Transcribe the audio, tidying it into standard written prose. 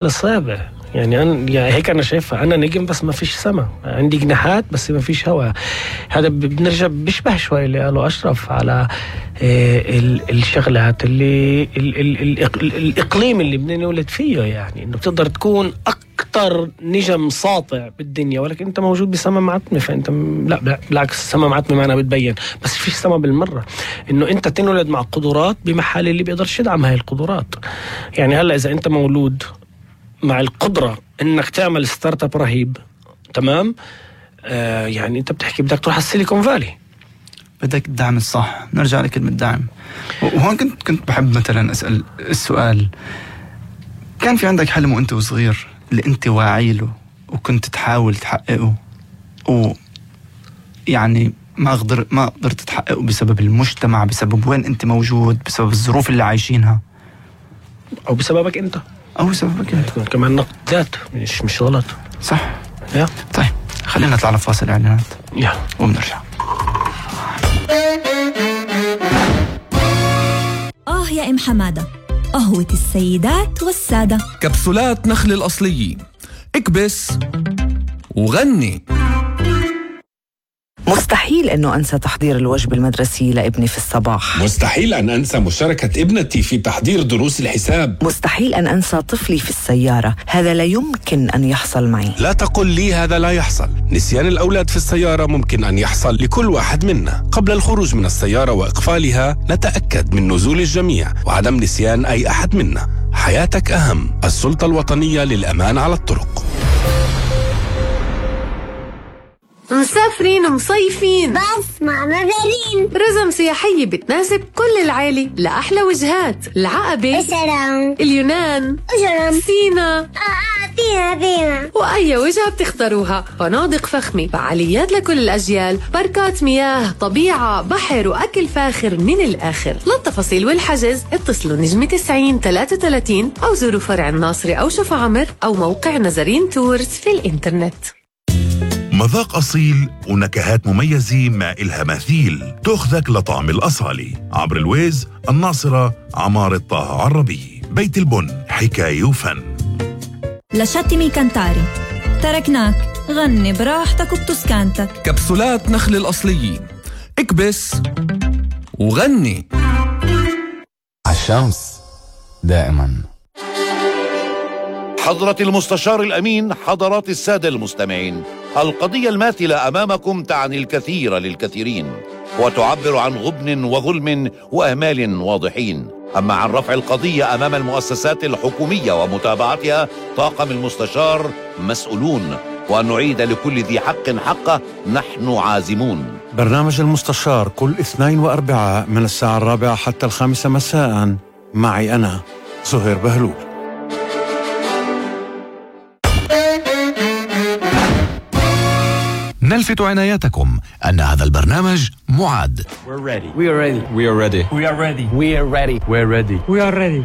الصعبة يعني يعني هيك أنا شايفها. أنا نجم بس ما فيش سما، عندي جناحات بس ما فيش هواء. هذا بنرجع بيشبه شوي اللي قاله أشرف على الشغلات اللي الإقليم اللي بدنا نولد فيه، يعني إنه بتقدر تكون أكتر نجم ساطع بالدنيا ولكن أنت موجود بسما معتمة. فأنت لا بالعكس، السما معتمة معنا بتبين بس فيش سما بالمرة. إنه أنت تنولد مع قدرات بمحل اللي بيقدرش يدعم هاي القدرات. يعني هلا إذا أنت مولود مع القدرة انك تعمل ستارت اب رهيب، تمام، يعني انت بتحكي بدك تروح على السيليكون فالي، بدك الدعم الصح. نرجع لكلمة دعم. وهون كنت بحب مثلا اسأل السؤال، كان في عندك حلم وانت وصغير اللي انت واعي له وكنت تحاول تحققه ويعني ما قدرت تحققه بسبب المجتمع، بسبب وين انت موجود، بسبب الظروف اللي عايشينها، او بسببك انت، او سببك انت كمان نقد ذات مش غلط. صح يا طيب خلينا نطلع لفاصل اعلانات وبنرجع. يا ام حماده، قهوة السيدات والسادة، كبسولات نخل الأصلية، اكبس وغني. مستحيل أنه أنسى تحضير الوجبة المدرسية لابني في الصباح. مستحيل أن أنسى مشاركة ابنتي في تحضير دروس الحساب. مستحيل أن أنسى طفلي في السيارة، هذا لا يمكن أن يحصل معي. لا تقل لي هذا لا يحصل. نسيان الأولاد في السيارة ممكن أن يحصل لكل واحد منا. قبل الخروج من السيارة وإقفالها نتأكد من نزول الجميع وعدم نسيان أي أحد منا. حياتك أهم. السلطة الوطنية للأمان على الطرق. مسافرين ومصيفين بس مع مدارين، رزم سياحية بتناسب كل العائلة لأحلى وجهات: العقبة، السلام، اليونان، سينا، فينا وأي وجهة بتختاروها. فنادق فخمة، فعاليات لكل الأجيال، باركات مياه، طبيعة، بحر وأكل فاخر من الآخر. للتفاصيل والحجز اتصلوا نجمة 90-33 أو زوروا فرع الناصري أو شفا عمر أو موقع نزرين تورز في الإنترنت. مذاق أصيل ونكهات مميزة ما إلها مثيل، تأخذك لطعم الأصالي. عبر الويز، الناصرة، عمارة طه عربي، بيت البن، حكاية وفن. لشاتمي كانتاري، تركناك غني براحتك وبتسكانتك. كبسولات نخل الأصلية، اكبس وغني. الشمس دائما. حضرة المستشار الأمين، حضرات السادة المستمعين، القضية الماثلة أمامكم تعني الكثير للكثيرين وتعبر عن غبن وظلم وأهمال واضحين. أما عن رفع القضية أمام المؤسسات الحكومية ومتابعتها، طاقم المستشار مسؤولون، وأن نعيد لكل ذي حق حقه نحن عازمون. برنامج المستشار كل اثنين وأربعاء من الساعة 4 حتى 5 مساء، معي أنا زهير بهلول. نلفت عنايتكم أن هذا البرنامج معد. We're ready. We are ready. We are ready. We are ready. We're ready. We are ready.